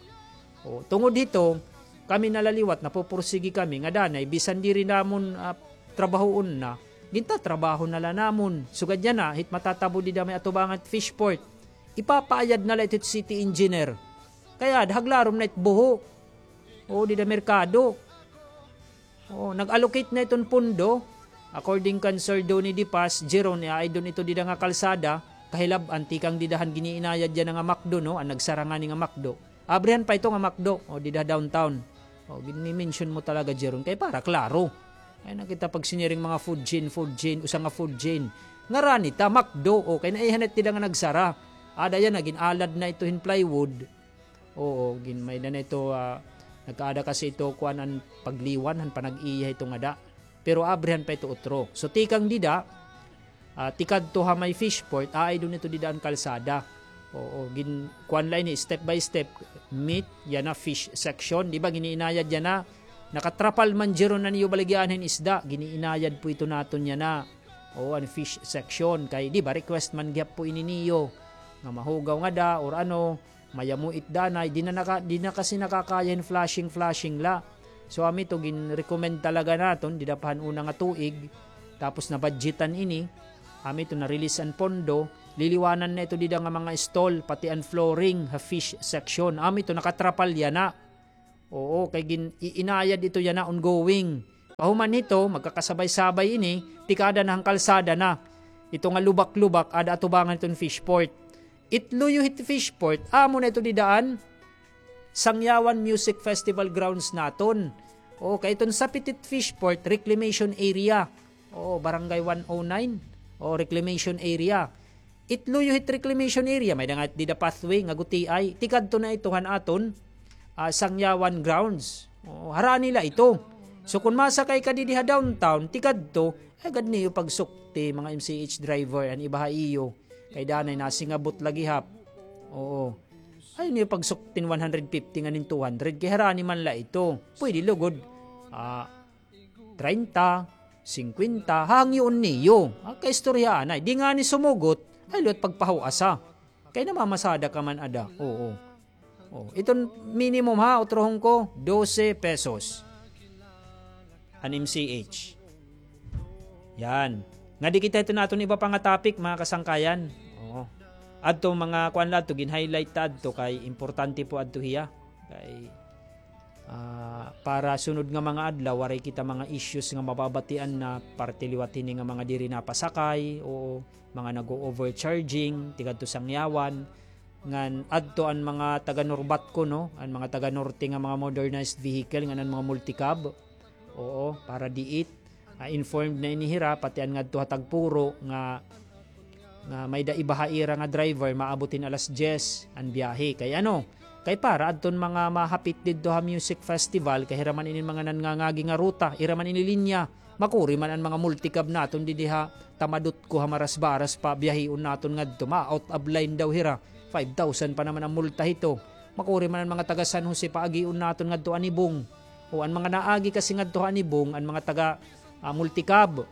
O, tungod hito, kami na la liwat, napupursigi kami, nga danay, bisan diri namon, ah, trabahoon na, gintatrabaho na la namon. Sugad yana, hit matatabo dida may atubangan Fishport, ipapaayad na la ito hit city engineer. Kay ada, haglarom na it buho. O, dida merkado. O, nag-allocate na iton pondo. According kan Sir Donny De Paz, Jeron, iaidon ito dida nga kalsada, kahilab-an tikang dida han giniinayad yana nga McDo, no? An nagsara ngani nga McDo. Abrihan pa ito nga McDo, o, dida downtown. O, gin-mention mo talaga, Jeron, kay para klaro. Ay, nakita pag siniring mga food chain, food chain, usa nga food chain. Ngarani ta, McDo, o, kay naihanit dida nga nagsara. Ada yana, gin-alad na ito hin plywood. Oo, gin-, may-ada na ito, ah, nagkaada kasi ito, kuan, an pagliwan, han panag-iya ito ngada. Pero abrihan pa ito utro. So, tikang dida, ah, tikadto ha may Fishport, aaidon ito dida an kalsada. Oo, gin-, kuan la ini, step by step, meat, yana fish section. Di ba, giniinayad yana, nakatrapal man, Jeron, na niyo baligyan hin isda. Giniinayad po ito naton yana. Oo, an fish section. Kay, di ba, request man gihap po ini niyo. Nga mahugaw ngada, or ano, mayamo it danay, di na naka-, di na kasi nakakaya hin flushing, flushing la. So, amo ito, gin-recommend talaga naton, dida pa han una nga tuig, tapos nabudgetan ini, amo ito, na-release an pondo, liliwanan na ito dida nga mga stall, pati an flooring, ha fish section. Amo ito, nakatrapal yana. Oo, kay gin-, iinayad ito yana, ongoing. Pahuman hito, magkakasabay-sabay ini, tikada na han kalsada na. Ito nga lubak-lubak, ada atubangan iton fishport. It luyo hit fishport, amo na ito dida han Sangyawan Music Festival grounds naton. Oo, kay iton sapit hit fishport, reclamation area. Oo, Barangay one oh nine. Oo, reclamation area. It luyo hit reclamation area, may-ada nga dida pathway nga gutiay. Tikadto na ito han aton, ah, Sangyawan grounds. Oo, harani la ito. So, kon masakay ka didi ha downtown, tikadto, ay gad niyo pagsukti, mga M C H driver, an iba ha iyo. Kay danay nasingabot la gihap. Oo. Ay niyo pagsuktin one hundred fifty ngan hin two hundred, kay harani man la ito. Pwede lugod. Ah, treinta, singkwenta, hangyoon niyo. Ah, kaistorya anay. Di ngani sumugot, ay liwat pagpahuasa. Kay namamasada ka man ada. Oo. Oh, iton minimum ha, utrohon ko, dose pesos. An M C H. Yan. Ngadi kita hiton aton iba pa nga topic, mga kasangkayan. Oo. Adto mga kuan la adto, gin-highlight ta adto kay importante po adto hiya. Kay, ah, para sunod nga mga adlaw, waray kita mga issues nga mababatian na parte liwat hini nga mga diri napasakay, o mga nag-o-overcharging, tikadto Sangyawan. Ngan adto an mga taga Norbatco, no? An mga taga Norte nga mga modernized vehicle, ngan an mga multicab. Oo, para diit. Ah, informed na ini hira, pati an ngadto ha Tagpuro nga, nga may-ada iba ha ira nga driver, maabot hin alas diyes an biyahe. Kay ano? Kay para adton mga mahapit didto ha music festival, kay hira man ini mga nangangagi nga ruta, ira man ini linya. Makuri man an mga multicab naton didi ha Tamadutco ha Marasbaras pa biyahion naton ngadto. Ma-out of line daw hira. Five thousand pa naman an multa hito. Makuri man an mga taga San Jose paagion naton ngadto Anibong. O an mga naagi kasi ngadto ha Anibong, an mga taga, ah, multicab,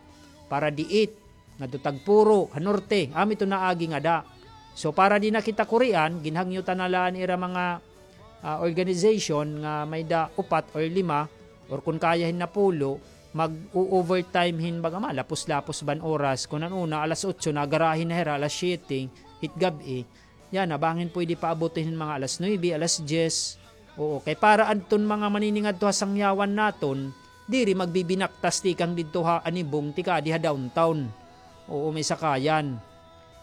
para diit, ngadto Tagpuro, ha norte, amo ito naagi ngada. So para di na kita kurian, ginhangyo ta na la an ira mga, ah, organization nga may-ada upat or lima, or kun kaya hin napulo, mag-o-overtime hin baga malapos-lapos ban oras. Kun an una, alas otso, nagarahi na hira, alas siyete, hit gab-i. Yana, bangin pwede paaboton hin mga alas nuebe, alas diyes. Oo, kay para adton mga maniningadto ha Sangyawan naton, diri magbibinaktas tikang didto ha Anibong, tikadi ha downtown. Oo, may sakayan.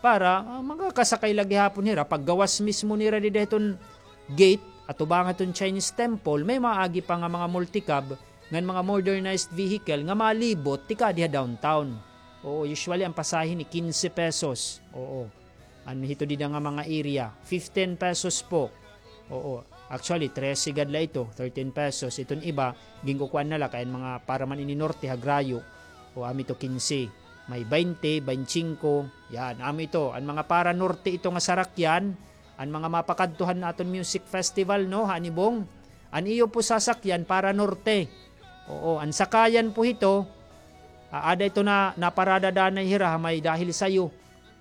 Para, ah, makakasakay la gihapon hira, paggawas mismo nira dida hiton gate, atubangan hiton Chinese temple, may maagi pa nga mga multicab, ngan mga modernized vehicle nga malibot, tikadi ha downtown. Oo, usually an pasahe ni kinse pesos. Oo. An hito dida nga mga area, fifteen pesos po. Oo. Actually, trese gad la ito, thirteen pesos. Iton iba, ginkukuan na la, kay an mga para man ini norte, ha Grayo. O, amo ito kinse. May baynte, baynte singko. Yan, amo ito. An mga para norte ito nga sarakyan, an mga mapakadto han aton music festival, no, ha Anibong. An iyo po sasakyan para norte. Oo, an sakayan po hito, ah, ada ito na, naparada danay hira ha may Dahil Sayo.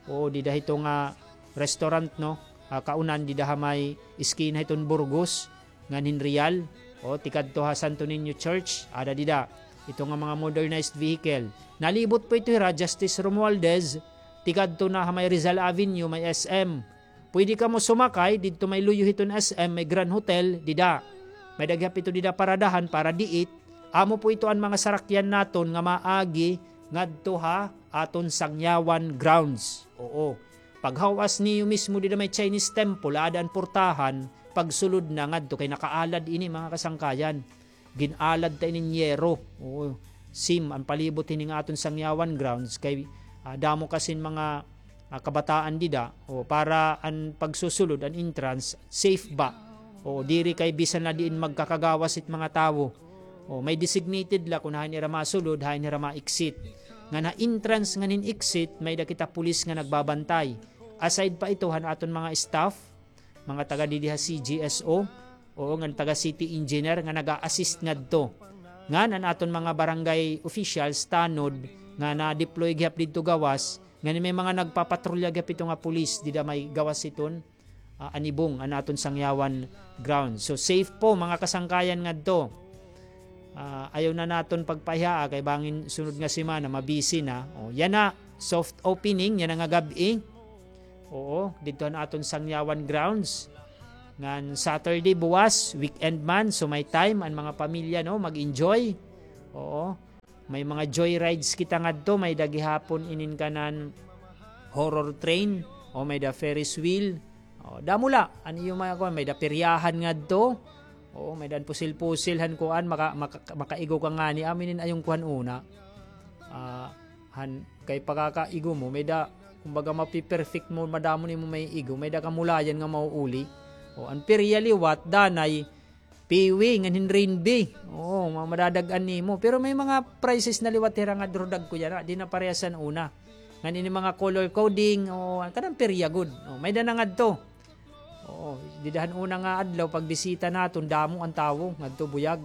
Oo, dida hito nga restaurant, no? Ah, kaunan dida ha may eskina hiton Burgos ngan hin Real. O, tikadto ha Santo Niño Church, ada dida. Ito nga mga modernized vehicle. Nalibot po ito hira, Justice Romualdez, tikadto na ha may Rizal Avenue, may S M. Pwede kamo sumakay didto may luyo hiton S M, may Grand Hotel, dida. May-ada gihap ito dida paradahan para diit. Amo po ito an mga sarakyan naton nga maagi ngadto ha aton Sangyawan grounds. Oo. Paghawas niyo mismo dida may Chinese temple, ada an portahan, pagsulod na ngadto kay nakaalad ini, mga kasangkayan. Gin-alad ta inin yero. Oo. Sim, an palibot hini nga aton Sangyawan grounds kay, ah, damo kasin mga, ah, kabataan dida. O, para an pagsusulod, an entrance, safe ba? O, diri kay bisan la diin magkakagawas it mga tawo. O, may designated la kun hain ira masulod, hain ira ma-exit. Ngan ha entrance ngan hin exit, may-ada kita pulis nga nagbabantay. Aside pa ito han aton mga staff, mga taga didi ha C G S O, oo, ngan taga city engineer nga naga-assist ngadto. Ngan an aton mga barangay officials, tanod, nga na-deploy gihap didto gawas, ngan may mga nagpapatrolya gihap ito nga pulis dida may gawas hiton, ah, Anibong, an aton Sangyawan ground. So, safe po, mga kasangkayan ngadto. Ah, ayaw na naton pagpaihaa kay bangin sunod nga semana, mabisi na. O, yana, soft opening, yana nga gab-i. Oo, didto han aton Sangyawan grounds. Ngan Saturday buwas, weekend man, so may time an mga pamilya, no, mag-enjoy. Oo. May mga joyrides kita ngadto, may-ada gihapon inin kanan horror train, o may-ada Ferris wheel. O, damo la an iyo mga kuan, may-ada peryahan ngadto. Oo, may-ada an pusil-pusil han kuan, maka-, maka-, makaigo ka ngani, amo inin an iyo kuan una. Ah, han, kay pakakaigo mo, may-ada, kumbaga, mapi-perfect mo, madamo nimo maiigo, may-ada kamulayan nga mauuli. O, an perya liwat, danay, Piwi, ngan hin Rainbee. Oo, ma-, madadag-an nimo. Pero may mga prizes na liwat hira nga duro dagko yana, di na parehas han una. Ngan ini mga color coding, o, kanan perya gud. O, may-ada na ngadto. Oo, dida han una nga adlaw, pagbisita naton, damo an tawo, ngadto buyag.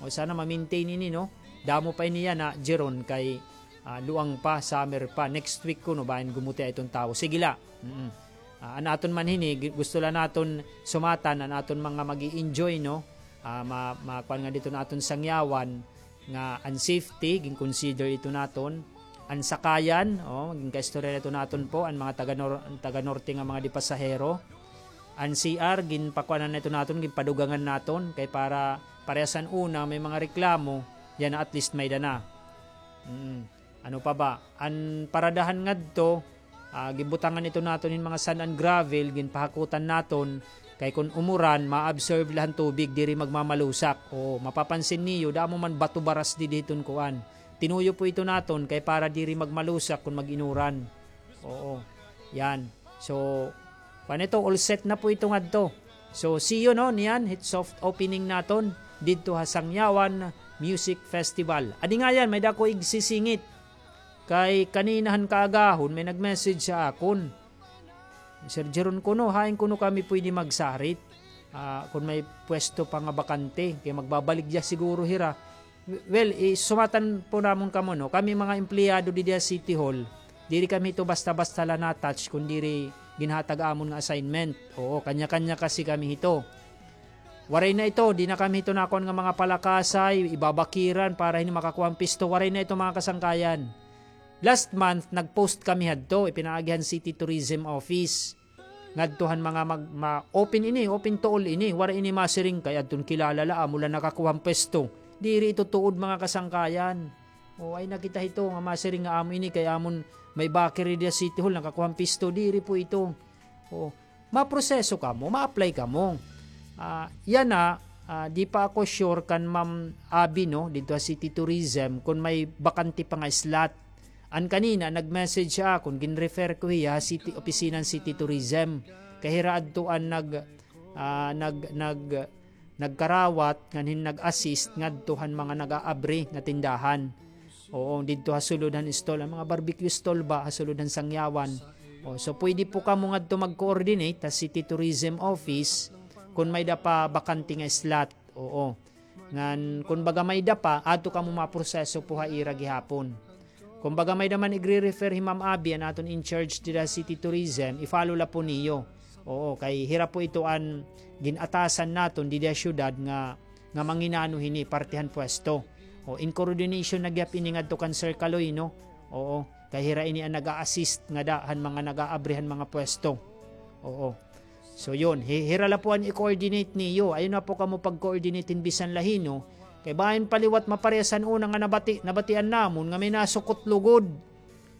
O, sana ma-maintain ini, no? Damo pa ini yana, Jeron, kay, ah, luang pa, summer pa. Next week kuno, bangin gumuti iton tawo. Sige la. Mm. Ah, an aton man hini, gi-, gusto la naton sumatan, an aton mga mag-i-enjoy, no? Ah, ma-, makuan nga didto an aton sangyawan, nga an safety, gin-consider ito naton. An sakayan, o, ginkaistorya na ito naton po, an mga taga-nor-, taga-norte nga mga di pasahero. An C R, ginpakuanan na ito naton, ginpadugangan naton, kay para parehas han una, may mga reklamo, yana at least may-ada na. Mm. Ano pa ba? An paradahan ngadto, ah, gibutangan ito naton hin mga sand and gravel, ginpahakutan naton, kay kun umuran, ma-absorb la han tubig, diri magmamalusak. O, mapapansin niyo, damo man bato baras didi hiton kuan. Tinuyo po ito naton, kay para diri magmalusak kun mag-inuran. Oo. Yan. So, kuan ito, all set na po ito ngadto. So, see you, no, niyan, hit soft opening naton didto ha Sangyawan Music Festival. Adi nga yan, may-ada ako igsisingit. Kay kanina han kaagahon, may nag-message ha akon. Sir Jeron kuno, hain kuno kami pwede magsarit? Ah, kun may pwesto pa nga bakante, kay magbabaligya siguro hira. Well, isumatan po namon kamo, no? Kami mga empleyado didi ha City Hall, diri kami hito basta-basta la na-attach, kun diri ginhatag amon nga assignment. Oo, kanya-kanya kasi kami hito. Waray na ito, di na kami hito nakuan nga mga palakasay, ibabakiran para hini makakuha han pwesto. Waray na ito, mga kasangkayan. Last month, nag-post kami hadto, ipinaagi han City Tourism Office. Ngadto han mga mag-, ma-, open ini, open to all ini. Waray ini masiring kay adton kilala la, amo la nakakuha han pwesto. Diri ito tuod, mga kasangkayan. O, ay nakita hito nga masiring nga amo ini kay amon may bakery dida City Hall, nakakuha han pwesto. Diri po ito. O, maproseso kamo, ma-apply kamo. Ah, yana, ah, di pa ako sure kan Ma'am Abby, no, didto ha City Tourism, kun may bakante pa nga slot. An kanina, nag-message ha akon, gin-refer ko hiya ha city, opisina han City Tourism. Kay hira adto an nag-, ah, nag-, nag-, nagkarawat, ngan hin nag-assist ngadto han mga nag-aabri nga tindahan. Oo, didto ha sulod han stall, an mga barbecue stall ba, ha sulod han Sangyawan. O, so, pwede po kamo ngadto mag-coordinate ha City Tourism Office kun may-ada pa bakante nga slot. Oo. Ngan, kun baga may-ada pa, adto kamo maproseso po ha ira gihapon. Kun baga may-ada man igre-refer hi Ma'am Abby, an aton in charge dida City Tourism, i-follow la po niyo. Oo, kay hira po ito an gin-atasan naton dida syudad nga, nga manginano hini parte han pwesto. O, in coordination na gihap ini ngadto kan Sir Kaloy, no? Oo, kay hira ini an nag-a-assist ngada han mga nag-aabri han mga pwesto. Oo. So, yun, hi-, hira la po an i-coordinate niyo. Ayaw na po kamo pag-coordinate hin bisan la hin-o. Kay bangin pa liwat maparehas han una nga nabati-, nabatian namon nga may nasukot lugod.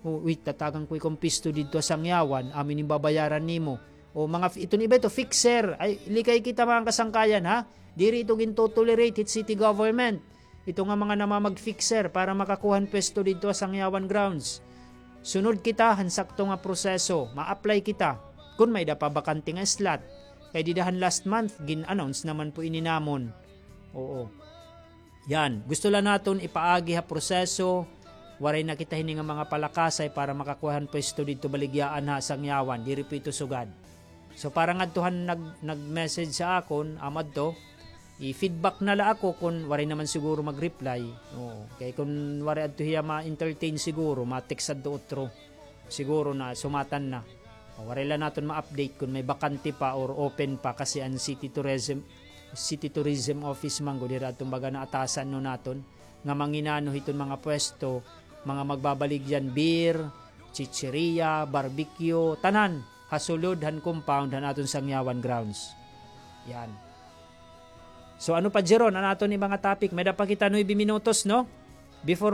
O, wait, tatagan ko ikaw hin pwesto didto ha Sangyawan, amo ini babayaran nimo. O, mga fi-, iton iba ito, fixer. Ay, likay kita, mga kasangkayan, ha? Diri ito ginto-tolerate hit city government. Ito nga mga namamag-fixer para makakuha hin pwesto didto ha Sangyawan grounds. Sunod kita han sakto nga proseso, ma-apply kita kun may-ada pa bakante nga slot. Kay dida han last month, gin-announce naman po ini namon. Oo. Yan, gusto la naton ipaagi ha proseso, waray na kita hini nga mga palakasay para makakuha hin pwesto didto baligyaan ha Sangyawan, diri po ito sugad. So, para ngadto han nag-, nag-message ha akon, amo adto, i-feedback na la ako kun waray naman siguro mag-reply. Oo. Kay kun waray adto hiya ma-entertain siguro, ma-text adto utro. Siguro na sumatan na. O, waray la naton ma-update kun may bakante pa or open pa kasi an City Tourism, City Tourism Office man gud hira adton baga naatasan no naton nga manginano hiton mga pwesto, mga magbabaligyan beer, chicheria, barbecue, tanan. Ha sulod han compound han aton Sangyawan grounds. Yan. So, ano pa, Jeron, an aton nga mga topic? May-ada pa kita nuebe minutos, no? Before